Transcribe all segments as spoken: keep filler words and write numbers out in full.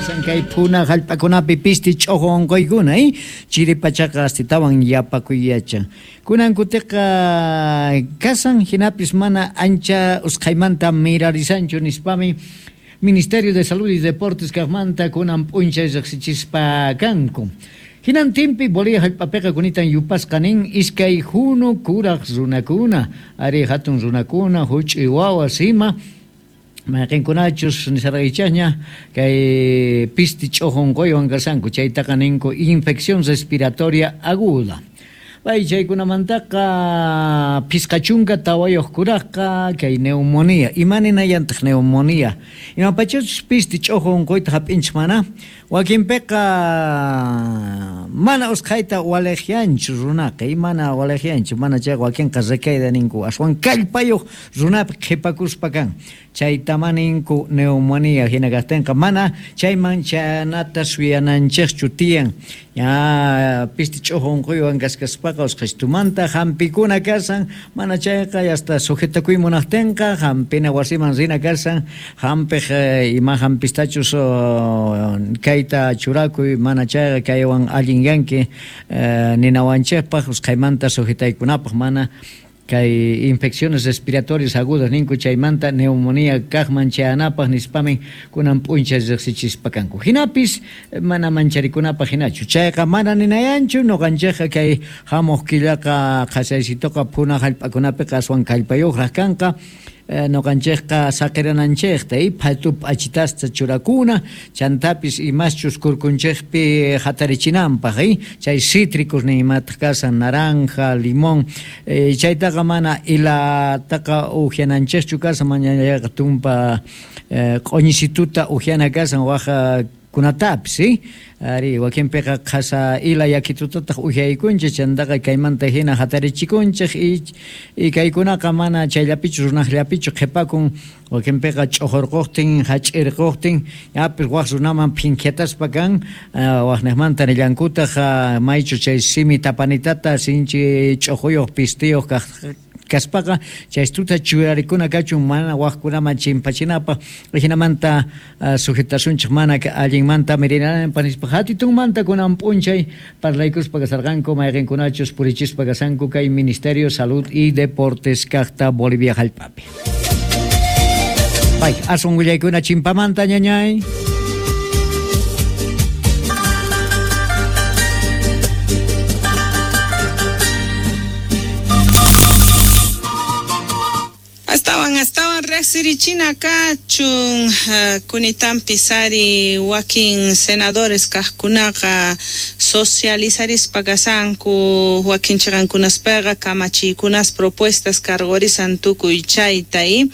Kasan kay phuna hallp'akunapi pisti ch'uqu unquykuna, eh? Chiri pachaqa astitawan yapakuy yachan. Kunan kutiqa kasan hinapis mana ancha usqhaymanta mirarisanchu nispami Ministerio de Salud y Deportes kaqmanta kunan p'unchay riqsichispa kanku. Hinantinpi Bolivia hallp'apiqa kunitan yupasqa nin iskay hunu kuraq runakuna, ari hatun runakuna, huch'uy wawas ima, mayqinkunachus nisarqaychaqña kay pisti ch'uqu unquywan kasanku, chaytaqa ninku infección respiratoria aguda. Bay chaykunamantaqa phisqa chunka tawayuq kuraqqa kay neumonía. Ima ninayantaq neumonía? Imapachachus pisti ch'uqu unquyta hap'inchik mana? Wakinpiqa mana usqhayta waliqyanchu runaqa, mana waliqyanchu, mana chayqa wakinqa recaída ninku, aswan kallpayuq runapi qhipakuspa kan. Chaytama ninku neumonía hina kaqtinqa mana chayman chanata suyananchikchu tiyan. Ya pisti ch'uqu unquywan kaskaspaqa usqhaytumanta hampikuna kasan, mana chayqa hasta sujetakuy munaqtinqa hampina wasiman rina kasan, hampiq ima hampistachus kayta churakuy, mana chayqa kaywan allinyanki ninawanchikpaq usqhaymanta sujetaykunapaq mana kay infecciones respiratorias agudas ninku chaymanta neumonía kaqman chayanapaq nispamin kunan p'unchay riqsichispa kanku. Hinapis mana mancharikunapaq hinachu, chayqa mana ninayanchu nuqanchikqa kay hamuq killaqa qhasaysituqa phuna hallp'akunapiqa aswan kallpayuqraq kanqa. Nuqanchikqa saqirananchikta y phatu p'achitasta churakuna chantapis imaschus kurkunchikpi hatarichinanpaq, eh? Chay cítricos ni imataq kasan naranja, limón, eh, chaytaqa mana ilataqa uhiananchikchu kasan, mañallaqa tumpa eh, q'uñisituta uhiana kasan waja kunatapis, eh? Ari wakinpiqa qhasa ila yakitutataq uhyaykunchik chantaqa kaymanta hina hatarichikunchik y, y kaykunaqa mana chayllapichu runaqllapichu qhipakun, wakinpiqa ch'uqurquqtin hach'irquqtin yapis waq runaman phinkhiataspa kan, uh, waqniqmanta nillankutaq uh, maychu chay simi tapanitata sinchi ch'uquyuq pistiyuq kaq kaspaqa chaystuta churarikuna kachun mana waqkunaman chimpachinapaq hinamanta uh, sujetasunchik mana allinmanta mirinanpaq nispa hatitunmanta kunan p'unchay parlaykuspa kasarqanku mayqinkunachus purichispa kasanku kay Ministerio Salud y Deportes kaqta Bolivia hallp'api. Bay, aswan willaykuna chimpamanta ñañay. Astawan astawan riqsirichina kachun uh, kunitanpi sari wakin senadores kaqkunaqa socializarispa kasanku wakin chiqankunaspaqa kamachiykunas propuestas cargorisan tukuy chayta y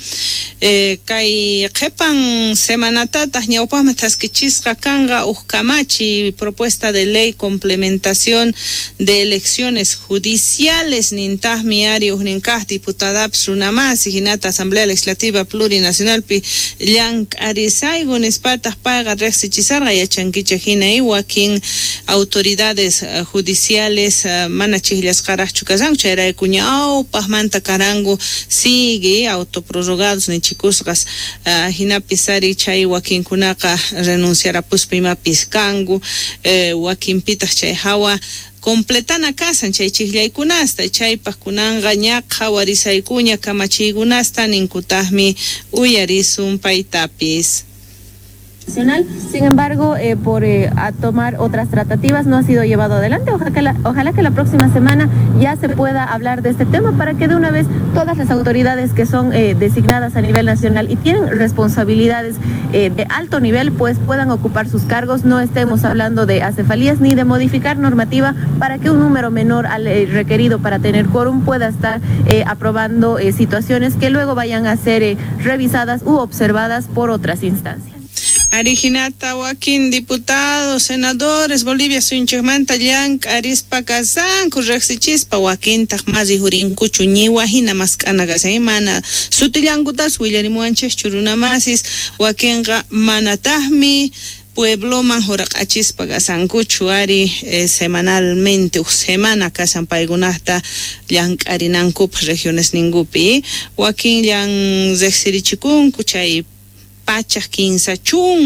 eh, kay qhipan semanatataq ñawpaqman thaskichisqa kanqa uj kamachi propuesta de ley complementación de elecciones judiciales nintaqmi ari ujnin kaq diputadapis runamasi hinata Asamblea Legislativa Plurinacionalpi llank'arisayku nispataq payqa riqsichisarqa yachankichik hina y wakin autoridades uh, judiciales uh, mana chiqllasqaraqchu kasanku chayrayku ñawpaqmanta karanku sigue autoprorrogados nichikusqas uh, hinapis ari chay wakinkunaqa renunciarapuspa imapis kanku eh, wakinpitaq chay hawa completana kasan chay chiqllaykunasta chaypaq kunanqa ña qhawarisaykuña kamachiykunasta ninkutaqmi uyarisun paytapis. Sin embargo, eh, por eh, a tomar otras tratativas no ha sido llevado adelante. Ojalá que, la, ojalá que la próxima semana ya se pueda hablar de este tema para que de una vez todas las autoridades que son eh, designadas a nivel nacional y tienen responsabilidades eh, de alto nivel, pues puedan ocupar sus cargos. No estemos hablando de acefalías ni de modificar normativa para que un número menor al eh, requerido para tener quórum pueda estar eh, aprobando eh, situaciones que luego vayan a ser eh, revisadas u observadas por otras instancias. Arijinata wakin diputados, senadores, Bolivia suyunchikmanta llank'arispa kasanku riqsichispa wakintaq masi hurinkuchu ñiwa hina mask'ana kasan mana sutillankutas willarimuwanchikchu runamasis wakinqa manataqmi puebloman huraq'achispa kasankuchu ari eh, semanalmente uj semana kasan paykunata llank'arinankupaq regiones ninkupi wakin llan riqsirichikunku chay pachaq kinsa chunka